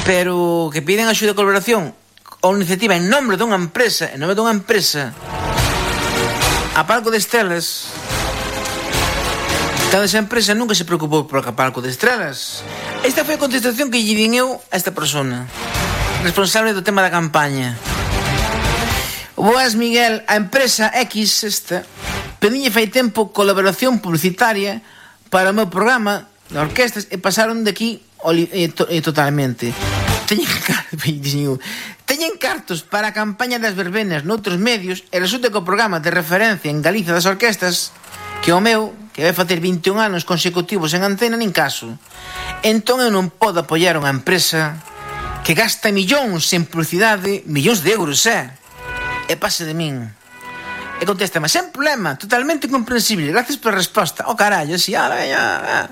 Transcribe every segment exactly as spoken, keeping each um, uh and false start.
pero que piden axuda e colaboración ou iniciativa en nome dunha empresa, en nome dunha empresa, a Palco de Estrelas. Toda esa empresa nunca se preocupou por a Palco de Estrelas. Esta foi a contestación que lle din eu a esta persona, responsable do tema da campaña. Boas, Miguel, a empresa X esta pediñe fai tempo colaboración publicitaria para o meu programa de orquestas e pasaron de aquí e, to, e totalmente. Teñen, teñen cartos para a campaña das verbenas noutros medios e resulta que o programa de referencia en Galicia das orquestas, que o meu, que vai facer vinte e un anos consecutivos en antena, nin caso. Entón eu non podo apoiar unha empresa que gasta millóns en publicidade, millóns de euros, eh? E pase de min. E contesta, mas sen problema, totalmente comprensible, gracias pola resposta. Oh, carallo, así, ah, veña, ah.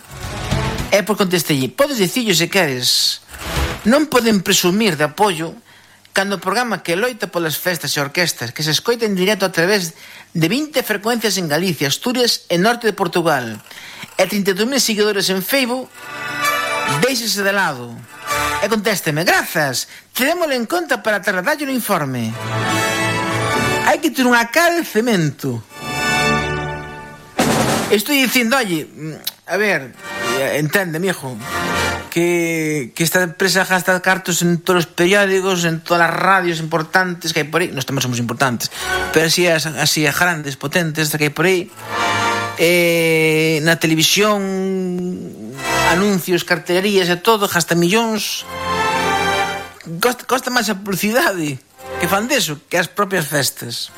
E por contestelle, podes dicillo se queres. Non poden presumir de apoio cando o programa que loita polas festas e orquestas que se escoita en directo a través de vinte frecuencias en Galicia, Asturias e norte de Portugal e trinta e dous mil seguidores en Facebook, deixese de lado. E contésteme, grazas, terémoslo en conta para trasladarlle o informe. Hai que ter unha cara de cemento. Estou dicindo, oye, a ver, entende, mijo, que, que esta empresa gasta cartos en todos os periódicos, en todas as radios importantes que hai por aí. Nós tamén somos importantes, pero así, así grandes, potentes que hai por aí. Eh, na televisión, anuncios, cartelerías e todo, gasta millóns. Costa, costa máis a publicidade que fan deso que as propias festas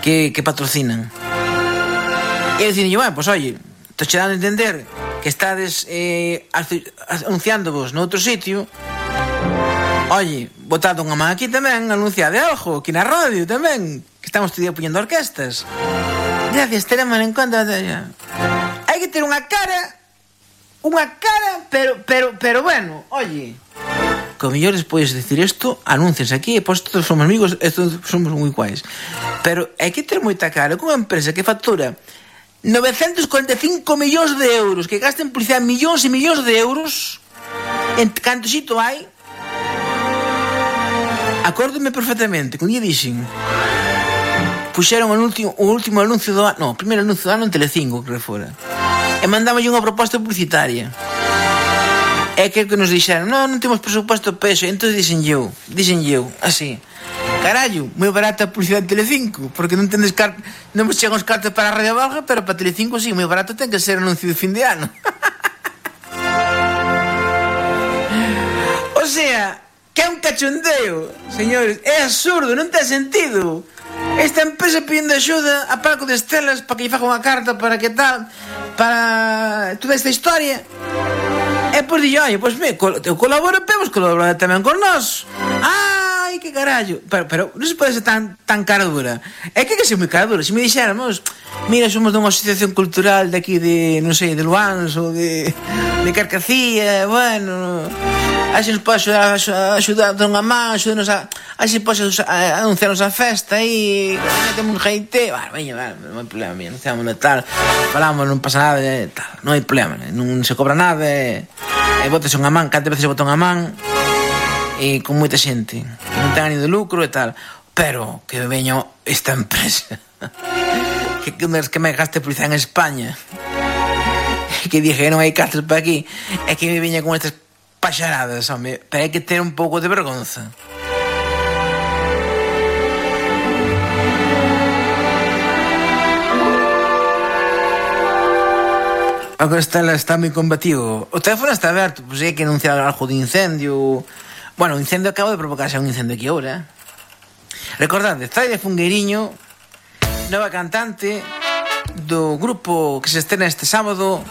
que, que patrocinan. E eu dicen, bueno, pues oye, estou che dando a entender que estades eh, anunciándovos noutro sitio. Oye, botado unha man aquí tamén, anunciade algo aquí na radio tamén, que estamos todo día poñendo orquestas. Gracias, teremos en conta. Hai que ter unha cara, unha cara, pero, pero, pero bueno, oye, como mellor despois de decir isto, anúncias aquí e pois todos somos amigos e todos somos moi guais. Pero hai que ter moita cara con unha empresa que factura novecientos cuarenta e cinco millóns de euros, que gasta en publicidade millóns e millóns de euros, en canto xito hai. Acórdome perfectamente que un día dixen, puxeron o último, o último anuncio do ano, no, o primeiro anuncio do ano en Telecinco, que fora, e mandámoslle unha proposta publicitaria. É que que nos dixeron, non, non temos presupuesto peso. Entón dixen eu, dixen eu, así, carallo, moi barata a publicidade de Telecinco, porque non tendes car... non vos chegan os cartos para a Radio Valga, pero para Telecinco sí, moi barato ten que ser anuncio de fin de ano. O sea, que é un cachondeo, señores, é absurdo, non ten sentido. Esta empresa pedindo axuda a Palco de Estrelas para que lle faga unha carta para que tal, para toda esta historia. E pois dille, oi, pois me, eu colaboro, pero colabora tamén con nós. Ai, que carallo. Pero, pero non se pode ser tan, tan cara dura. É que que ser moi cara dura. Se me dixéramos, mira, somos dunha asociación cultural de aquí de, non sei, de Luans ou de, de Carcacía, bueno, a se nos pode axudar, axudar a unha man, axudarnos a, a se pode anunciarnos a festa aí, metemos un jeite, bueno, veña, non hai problema, mira, anunciámoslo e tal, falamos, non pasa nada, e tal, non hai problema, non se cobra nada, e, e botase unha man, cantas veces se bota unha man, e con moita xente, que non ten ánimo de lucro e tal, pero que veña esta empresa, que, que, me, que me gaste publicidade en España, que dije que non hai cartas para aquí, e que me veña con estas paxaradas, home, pero hai que ter un pouco de vergonza. Agora está, está moi combativo. O teléfono está aberto, pois hai que anunciar algo de incendio. Bueno, o incendio acaba de provocarse un incendio aquí ahora. Recordade, Zaida Fungueiriño, nova cantante do grupo que se estrena este sábado,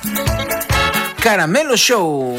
Caramelo Show.